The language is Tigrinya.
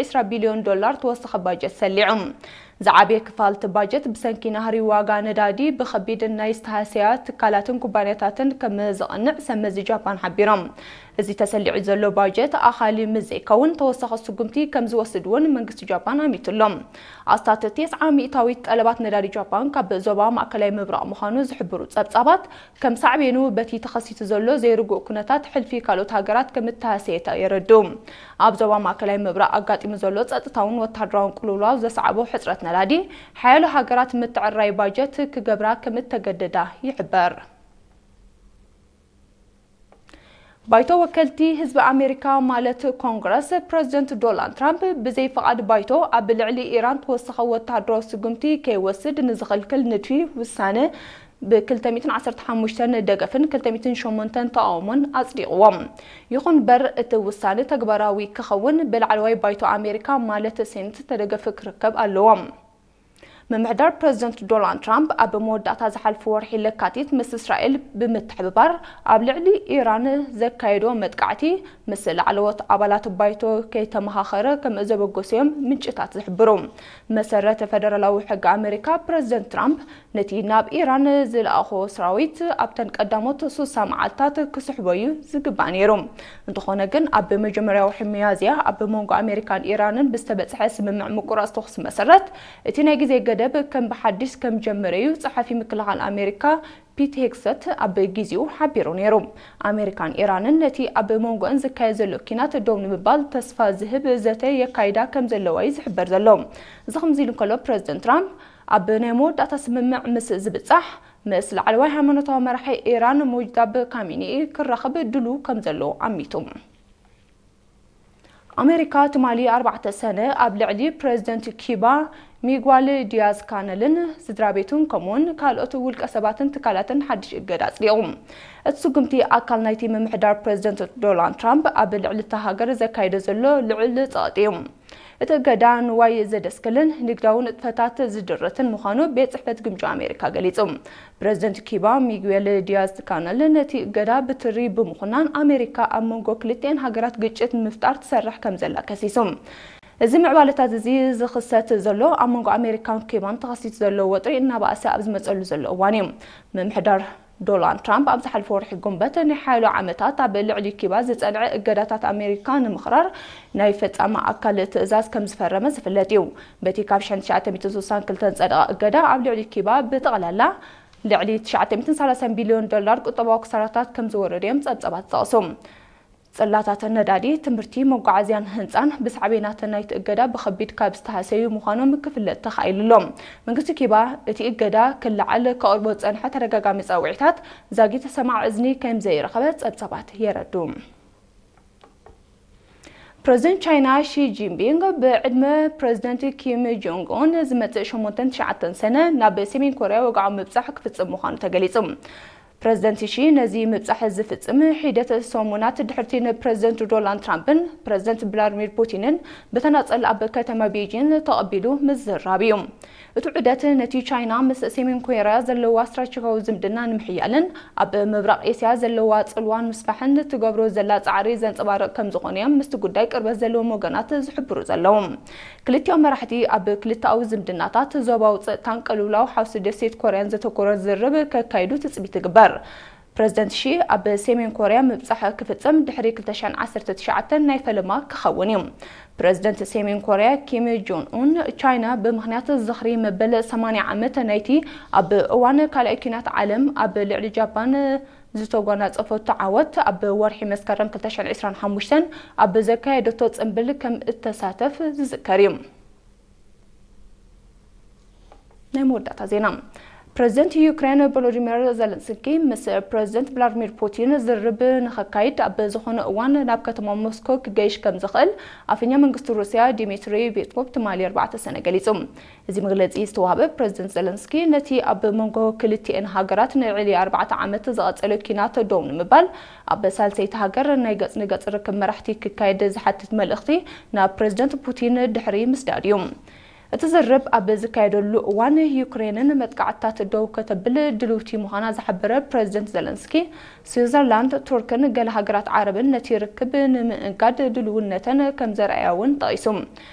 ዒስራ ቢልዮን ዶላር ተወሳኺ ባጀት ሰሊዑ። ዝዓበየ ክፋል እቲ ባጀት ብሰንኪ ናህሪ ዋጋ ነዳዲ ብኸቢድ ናይ ዝተሃሰያ ትካላትን ኩባንያታትን ከም ዝቐንዕ ሰብ መዚ ጃፓን ሓቢሮም። እዚ ተሰሊዑ ዘሎ ባጀት ኣኻሊ ምስ ዘይከውን ተወሳኺ ስጉምቲ ከም ዝወስድ እውን መንግስቲ ጃፓን ኣሚቱ ኣሎ። ኣስታት ተስዓ ሚእታዊት ጠለባት ነዳዲ ጃፓን ካብ ዞባ ማእከላይ ምብራቕ ምዃኑ ዝሕብሩ ጸብጻባት፣ ከም ሳዕቤኑ በቲ ተኸሲቱ ዘሎ ዘይርጉእ ኩነታት ሕልፊ ካልኦት ሃገራት ከም እተሃሰየታ የረድኡ። ኣብ ዞባ ማእከላይ ምብራቕ ኣጋጢሙ ዘሎ ጸጥታውን ወተሃደራውን ቅልውላው ዘስዓቦ ሕጽረት ነዳዲ፣ ሓያሎ ሃገራት ምትዕርራይ ባጀት ክገብራ ከም እተገደዳ ይሕበር። ባይቶ ወከልቲ ህዝቢ ኣሜሪካ ማለት ኮንግረስ፣ ፕረዚደንት ዶናልድ ትራምፕ ብዘይ ፍቓድ ባይቶ ኣብ ልዕሊ ኢራን ተወሳኺ ወተሃደራዊ ስጉምቲ ከይወስድ ንዝኽልክል ንድፊ ውሳነ ብ ክልተ ሚእትን ዓሰርተ ሓሙሽተን ደገፍን ክልተ ሚእትን ሸሞንተን ተቓውሞን ኣጽዲቕዎም። ይኹን እምበር እቲ ውሳነ ተግባራዊ ክኸውን ብላዕለዋይ ባይቶ ኣሜሪካ ማለት ሴኔት ተደገፍ ክርከብ ኣለዎ። ምምሕዳር ፕረዚደንት ዶናልድ ትራምፕ ኣብ መወዳእታ ዝሓልፉ ወርሒ ለካቲት ምስ እስራኤል ብምትሕብባር ኣብ ልዕሊ ኢራን ዘካየዶ መጥቃዕቲ ምስ ላዕለዎት ኣባላት ባይቶ ከይተመኻኸረ ከም ዘበገሶ እዮም ምንጭታት ዝሕብሩ። መሰረት ፈደራላዊ ሕጊ ኣሜሪካ፣ ፕረዚደንት ትራምፕ ነቲ ናብ ኢራን ዝለኣኾ ሰራዊት ኣብተን ቀዳሞት ሱሳ መዓልታት ክስሕቦ እዩ ዝግባእ ነይሩ። እንተኾነ ግን ኣብ መጀመርያዊ ወርሒ ሚያዝያ ኣብ መንጎ ኣሜሪካን ኢራንን ብዝተበጽሐ ስምምዕ ምቁራጽ ተኹሲ መሰረት፣ እቲ ናይ ግዜ ገደብ ከም ብሓድሽ ከም ጀመረ እዩ ጸሓፊ ምክልኻል ኣሜሪካ ፒት ሄግሰት ኣብ ግዜኡ ሓቢሩ ነይሩ። ኣሜሪካን ኢራንን ነቲ ኣብ መንጎአን ዝካየድ ዘሎ ኪናት ደው ንምባል ተስፋ ዝህብ ዘተ የካይዳ ከም ዘለዋ እዩ ዝሕበር ዘሎ። እዚ ከምዚ ኢሉ እንከሎ፣ ፕረዚደንት ትራምፕ ኣብ ናይ መወዳእታ ስምምዕ ምስ ዝብጻሕ፣ ምስ ላዕለዋይ ሃይማኖታዊ መራሒ ኢራን ሙጅታባ ካሚኒኢ ክራኸብ ድሉ ከም ዘሎ ኣሚቱ። ኣሜሪካ ትማሊ ኣርባዕተ ሰነ ኣብ ልዕሊ ፕረዚደንት ኪባ ሚጓል ዲያዝ ካነልን ስድራ ቤቱን ከምኡውን ካልኦት ውልቀ ሰባትን ትካላትን ሓድሽ እገዳ ኣጽዲቑ። እቲ ስጉምቲ ኣካል ናይቲ ምምሕዳር ፕረዚደንት ዶናልድ ትራምፕ ኣብ ልዕሊ እታ ሃገር ዘካይዶ ዘሎ ልዑል ጸቕጢ እዩ። እቲ እገዳ ንዋይ ዘደስክልን ንግዳዊ ንጥፈታት ዝድርትን ምዃኑ ቤት ጽሕፈት ግምጃ ኣሜሪካ ገሊጹ። ፕረዚደንት ኪባ ሚጉኤል ዲያዝ ካነል ነቲ እገዳ ብትሪ ብምኹናን ኣሜሪካ ኣብ መንጎ ክልቲኤን ሃገራት ግጭት ንምፍጣር ትሰርሕ ከም ዘላ ከሲሱ። እዚ ምዕባለታት እዚ ዝኽሰት ዘሎ ኣብ መንጎ ኣሜሪካን ኪባን ተኸሲቱ ዘሎ ወጥሪ እናባእሰ ኣብ ዝመጸሉ ዘሎ እዋን እዩ። ምምሕዳር ዶናልድ ትራምፕ ኣብ ዝሓለፈ ወርሒ ጉንበት ናይ ሓያሎ ዓመታት ኣብ ልዕሊ ኪባ ዝጸንዐ እገዳታት ኣሜሪካ ንምኽራር ናይ ፈጻሚ ኣካል ትእዛዝ ከም ዝፈረመ ዝፍለጥ እዩ። በቲ ካብ ሸሕን ትሽዓተ ሚእትን ስሳን ክልተን ዝጸደቐ እገዳ ኣብ ልዕሊ ኪባ ብጠቕላላ ልዕሊ ትሽዓተ ሚእትን ሰላሳን ቢልዮን ዶላር ቁጠባዊ ክሳራታት ከም ዝወረደ እዮም ጸብጻባት ዝጠቕሱ። ጽላታት ነዳዲ፣ ትምህርቲ፣ መጓዓዝያን ህንጻን ብሳዕቤናት ናይቲ እገዳ ብኸቢድ ካብ ዝተሃሰዩ ምዃኖም ክፍለጥ ተኻኢሉ ኣሎ። መንግስቲ ኪባ እቲ እገዳ ክለዓል ከቕርቦ ዝጸንሐ ተደጋጋሚ ጸውዒታት ዛጊት ሰማዕ እዝኒ ከም ዘይረኸበ ጸብጻባት የረዱ። ፕረዚደንት ቻይና ሺ ጂንፒንግ ብዕድመ ፕረዚደንት ኪም ጆንግ ኡን ዝመጽእ ሸሞንተን ትሽዓተን ሰነ ናብ ሰሜን ኮርያ ወግዓዊ ምብጻሕ ክፍጽም ምዃኑ ተገሊጹ። ፕረዚደንት ሺ ነዚ ምብጻሕ ዝፍጽም ሒደት ሰሙናት ድሕርቲ ንፕረዚደንት ዶናልድ ትራምፕን ፕረዚደንት ቭላድሚር ፑቲንን ብተናጸል ኣብ ከተማ ቤጂን ተቐቢሉ ምዝራብ እዩ። እቲ ዑደት ነቲ ቻይና ምስ ሰሜን ኮርያ ዘለዋ ስትራቴጂካዊ ዝምድና ንምሕያልን ኣብ ምብራቕ ኤስያ ዘለዋ ጽልዋ ንምስፋሕን ትገብሮ ዘላ ጻዕሪ ዘንጸባርቕ ከም ዝኾነ እዮም ምስቲ ጉዳይ ቅርበት ዘለዎም ወገናት ዝሕብሩ ዘለዉ። ክልቲኦም መራሕቲ ኣብ ክልተኣዊ ዝምድናታት፣ ዞባዊ ጸጥታን ቅልውላው ሓውሲ ደሴት ኮርያን ዘተኮረ ዝርርብ ከካይዱ ትጽቢት ይግበር። ፕረዚደንት ሺ ኣብ ሰሜን ኮርያ ምብጻሕ ክፍጽም ድሕሪ ክልተ ሽሕን ዓሰርተ ትሽዓተን ናይ ፈለማ ክኸውን እዩ። ፕረዚደንት ሰሜን ኮርያ ኪም ጆን ኡን፣ ቻይና ብምኽንያት ዝኽሪ መበል ሰማንያ ዓመት ናይቲ ኣብ እዋን ካልኣይ ኲናት ዓለም ኣብ ልዕሊ ጃፓን ዝተጓናጸፈቶ ዓወት ኣብ ወርሒ መስከረም ክልተ ሽሕን ዕስራን ሓሙሽተን ኣብ ዘካየደቶ ጽምብል ከም እተሳተፍ ዝዝከር እዩ። ናይ መወዳእታ ዜና። ፕረዚደንት ዩክሬን ቮሎዲሚር ዘለንስኪ ምስ ፕረዚደንት ቭላድሚር ፑቲን ዝርርብ ንኸካይድ ኣብ ዝኾነ እዋን ናብ ከተማ ሞስኮ ክገይሽ ከም ዝኽእል ኣፈኛ መንግስቲ ሩስያ ዲሚትሪ ፔስኮቭ ትማሊ ኣርባዕተ ሰነ ገሊጹ። እዚ መግለጺ ዝተዋህበ ፕረዚደንት ዘለንስኪ ነቲ ኣብ መንጎ ክልቲኤን ሃገራት ንልዕሊ ኣርባዕተ ዓመት ዝቐጸለ ኲናት ደው ንምባል ኣብ ሳልሰይቲ ሃገር ናይ ገጽ ንገጽ ርክብ መራሕቲ ክካየድ ዝሓትት መልእኽቲ ናብ ፕረዚደንት ፑቲን ድሕሪ ምስዳድ እዩ። እቲ ዝርርብ ኣብ ዝካየደሉ እዋን፣ ዩክሬንን መጥቃዕትታት ደው ከተብል ድልውቲ ምዃና ዝሓበረ ፕረዚደንት ዘለንስኪ፣ ስዊዘርላንድ፣ ቱርክን ገለ ሃገራት ዓረብን ነቲ ርክብ ንምእጋድ ድልውነተን ከም ዘርኣያ እውን ጠቒሱ።